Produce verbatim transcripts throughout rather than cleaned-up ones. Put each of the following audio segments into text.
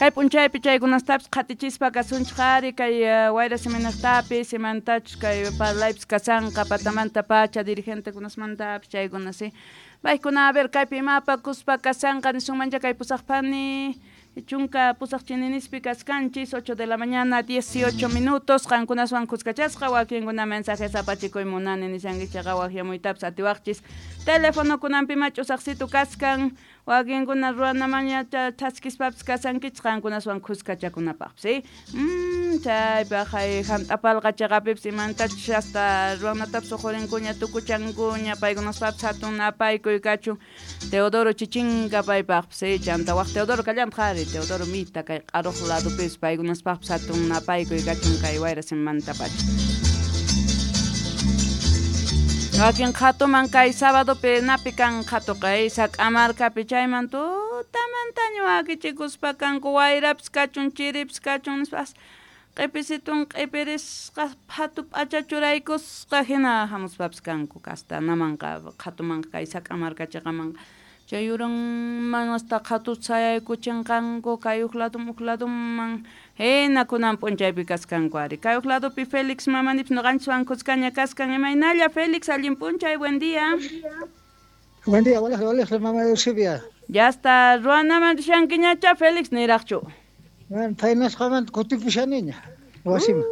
Kay p'unchaypi chaykunastapis qhatichispa kasunchik ari kay wayra siminaqtapis imantachus kay parlaypis kasanqa patamanta pacha dirigentekunasmantapis chaykuna si. Paykuna a ver kaypi imapakuspa kasanqa nisunmancha kay pusaqpani chunka pusaq chininispi kaskanchis ocho de la mañana dieciocho minutos qankunaswan kuskachasqa wakinkuna mensajes apachikuy munani nishankichikqa waqyamuytapis atiwaqchis telefonokunanpi mach'usaqsitu kaskan wakinkuna ruwanamaña thaskispapis kasankichis qankunaswan kuskachakunapaqpis ¿sí? Mm, chaypaq hant'apalqa chaqapipis imantachus hasta ruwanatapis uqurinkuña tukuchankuña paykunaspapis hatun napaykuy kachun Teodoro Chichinka paypaqpis ¿sí? Chanta waq Teodoro kallantaq ari Teodoro Mita kay q'aruq ladupis paykunaspaqpis hatun napaykuy kachun kay wayra simanta pacha. Wakin qhatuman kay sábadopi napi kan qhatuqa sak'amarkapi chayman tutamantaña wakichikuspa kanku wayrapis kachun chiripis kachun nispas q'ipisitun q'ipirisqa phatu p'acha churaykusqa hina hamuspapis kanku kastanamanqa qhatumanqa kay sak'amarka chiqamanqa chay yuranman hasta qhatu sayaykuchinqanku kay huk ladum huk laduman hina kunan p'unchaypi kaskanku ari kay huk ladupi Félix mamanipis ñuqanchikwan kuskaña kaskan imaynalla Félix allin p'unchay buen día. Buen día, walej walej mama Eusebia. Ya está ruwanaman rishankiñacha Félix niraqchu. Bueno, phaynasqamanta kutipushaniña wasiman.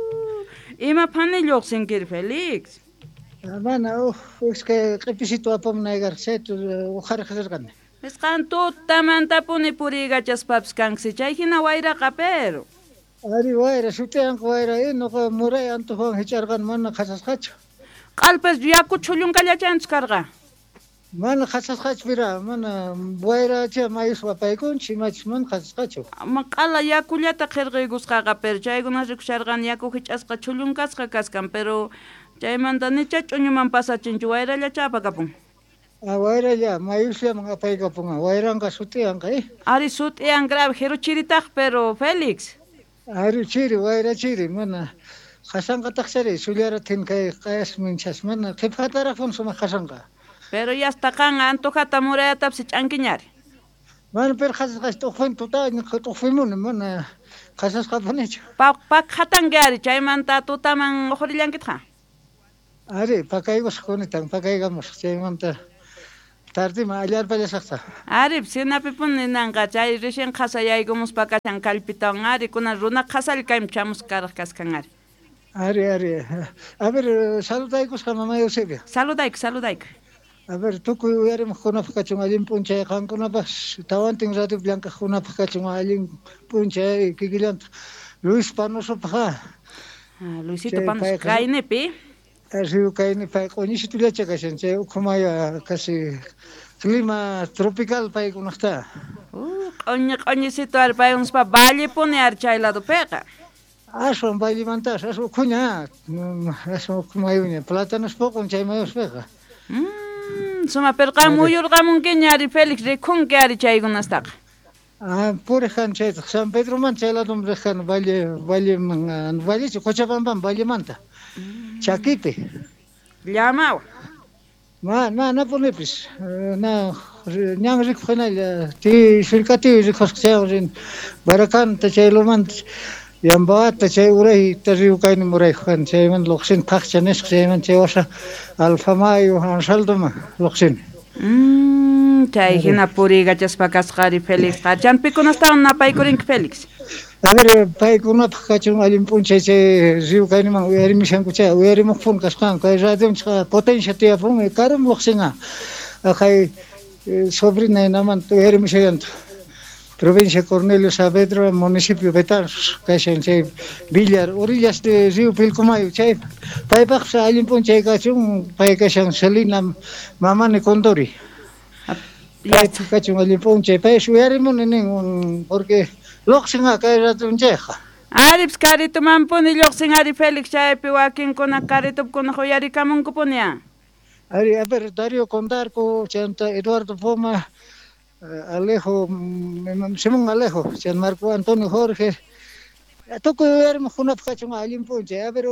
Ima phani lluqsinkiri Félix? Mana uj iskay q'ipisitu apamunaykarqa chayta uqhariq rirqani. Nisqan tutamantapuni puriykachaspapis kanki chay hina wayraqa pero. Ari wayra sut'iyanqa wayra nuqa muray antojuwan hich'arqani mana qhasasqachu. Q'alpas yaku chhullunqallachanchu karqa? Mana qhasasqachu pira mana wayracha mayuspa apaykunchik imachus mana qhasasqachu. Q'ala yakullata qhirqaykusqaqa pero chaykuna rikusharqani yaku hich'asqa chhullunkasqa kaskan pero chaymanta nicha ch'uñuman pasachinchu wayrallacha apakapun. Ah, wayralla mayusllaman apaykapunqa wayranqa sut'iyanqa eh. Ari sut'iyan grave jiru chiritaq pero Félix. Ari chiri wayra chiri mana qasanqataqchari sullaratin kay q'ayasminchas mana qhipataraqpun sumaq qasanqa. Pero ya hasta qan antojata murayatapis ch'ankiñari. Mana pero qhasasqachu t'uqfin tutaña t'uqfimuni mana qhasasqapunichu. Pa pakhatanki ari chaymanta tutaman uqhurillankitaq. Ari pakaykusaq kunitan pakaykamusaq chaymanta tardiman allarpallasaqta. Ari sinapipuni ninanqa chay recién qhasayaykumuspa kashan kallpitawan ari kunan runa qhasalla kayman chamusqa karaq kaskan ari. Ari ari a ver saludaykusqa mama Eusebia. Saludayku saludayku. A ver tukuy uyarimuqkunapaq kachun allin p'unchay qankunapaq tawantin radiopi llank'aqkunapaq kachun allin p'unchay kikillantaq Luis Panosopaq. Ah, Luisito Panos kaynipi. Río kayni pay q'uñisitullacha kashan chay ukhumaya casi clima tropical paykunaqta. Uh, q'uñi q'uñisito ari paykunaspaq vallepuni ari chay ladopiqa. Aswan vallemantas aswan ukhuña aswan ukhumayuña plátanos poqon chay mayuspiqa. Mm, suma pero qam muyurqamunkiña ari Félix rikhunki ari chaykunastaqa. Ah, puriq kani chaytaq San Pedromanta chay ladum riq kani valle valleman vallechu Cochabambaman vallemanta. Chakipi. Llamawan. Ma manapunipis na ñan rikuq hinalla ti sullkatiwi rikusqa chaywan rin Barakanta chay lumanta Yambawata chay urayta río kayni muraykuq kani chaymanta lluqsini Phaqcha nisqa chaymanta chay wasa Alfamayo Ansaldoman lluqsini. Mm, chay hina puriykachaspa kasqa ari Félixqa champikunastawan napaykurinki Félix. A ver, paykunapaq kachun allin p'unchay chay río kayniman uyarimushanku chay uyarimuqpuni kasqanku kay radionchikqa potencia tiyapun karum lluqsinqa kay sobrina hinamanta uyarimushallantaq provincia Cornelio Saavedra municipio Betanzos kashan chay Villar orillas de río Pilcomayo chay paypaqpas allin p'unchay kachun pay kashan Selina Mamani Condori. Paypaq kachun allin p'unchay pay uyarimuni nin porque lluqsinqa kay ratonchayqa. Aripis karitumanpuni lluqsin ari Félix chaypi wakinkuna karitupkunaq uyarikamunkupuni a. Ari a ver Darío Condarco chanta Eduardo Poma Alejo Simón Alejo chan Marco Antonio Jorge tukuy uyarimuqkunapaq kachun allin p'unchay a ver